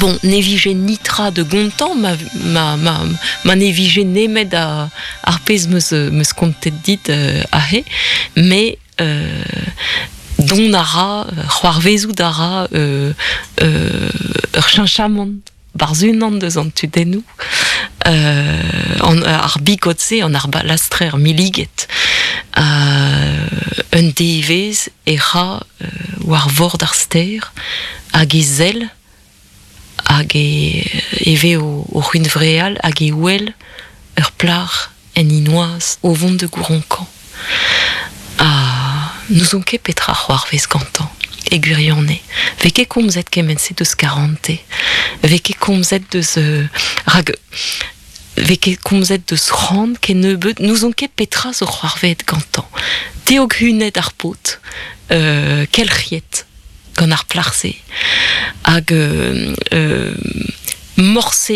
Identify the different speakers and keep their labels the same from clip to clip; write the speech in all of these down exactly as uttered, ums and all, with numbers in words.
Speaker 1: Bon, ne vije nitra de gontan, ma, ma, ma, ma ne vije nemet a, ar pezh meus, meus kontet dit euh, ahe, mais euh, don a ra, c'hoarvezout a ra euh, euh, ur cheñchamant barzh unan deus an tudennoù, euh, an, ar bigod-se, an ar balastrer milliget, euh, un devezh e ra euh, war vord ar ster hag e sell hag e, e ve o, o c'hunvreal hag e wel ur plac'h en inoaz o vont de gouronkañ. Ha n'ouzon ket petra c'hoarvez gantañ e gwirionez. Vez ket komzet kement-se deus karante. Vez ket komzet deus euh, rak vez ket komzet deus c'hoant kennebeut n'ouzon ket petra zo c'hoarvezet gantañ. Teog hunet ar paotr, euh, kelc'hiet gant ar plac'h-se hag euh, euh, morse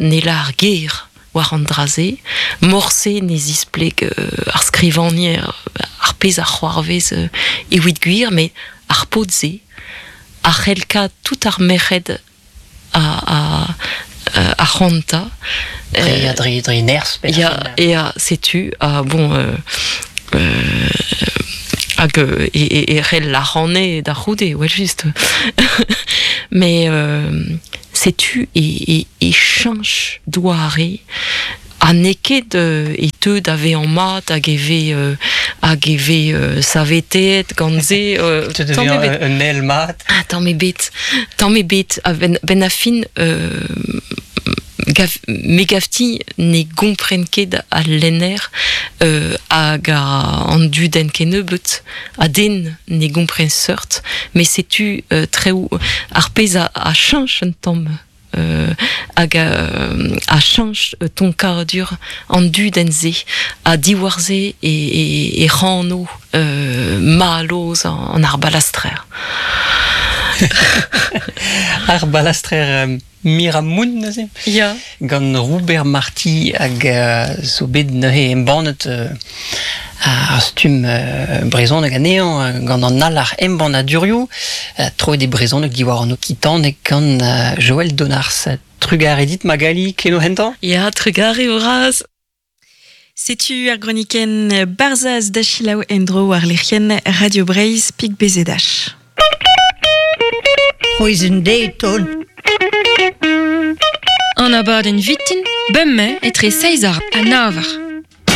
Speaker 1: ne lar ger war an dra-se, morse ne zispleg euh, ar skrivagner ar pezh a c'hoarvez euh, evit gwir, met ar paotr-se a c'hell kat tout ar merc'hed a, a, a c'hoanta.
Speaker 2: Dre, dre, dre nerzh.
Speaker 1: Ya, ya, setu, ha bon... Euh, euh, hag e, e, e c'hell la ranne da c'houde, ouais, just. Mais euh, setu e, e, e cheñch doare ha n'eo ket euh, e teu da vezañ mat hag e vez euh, hag e vez euh, saveteet gant se euh,
Speaker 2: Te devient un, un ael mat.
Speaker 1: Ah, tamm ebet, tamm ebet, a ben, ben a fin euh, gav, me gavti ne gompren ket al lenner euh, hag a an dudenn kennebeut a den ne gompren seurt, mais setu euh, treoù ar pezh a, a cheñch un tamm euh, hag a, a cheñch tonkadur an dudenn-se ha diwar-se e, e, e c'hano euh, mallozh an ar balastrer.
Speaker 2: Ar balastrer euh, Miramoun neuze.
Speaker 1: Ya.
Speaker 2: Gant Robert Marty hag euh, zo bet neuze embannet euh, ar stumm euh, brezhoneg anezhañ gant an Alarc'h Embannadurioù euh, troet e brezhoneg diwar an okitaneg gant euh, Joël Donars. Trugarez dit Magali keno hentañ?
Speaker 1: Ya, trugarez bras.
Speaker 3: Setu ar gronikenn Barzhaz da selaou en-dro war lec'hienn Radio Breizh pik B Z H.
Speaker 4: C'hwezh deton.
Speaker 5: An abadenn vintin, bemdez etre seizh eur ha nav eur.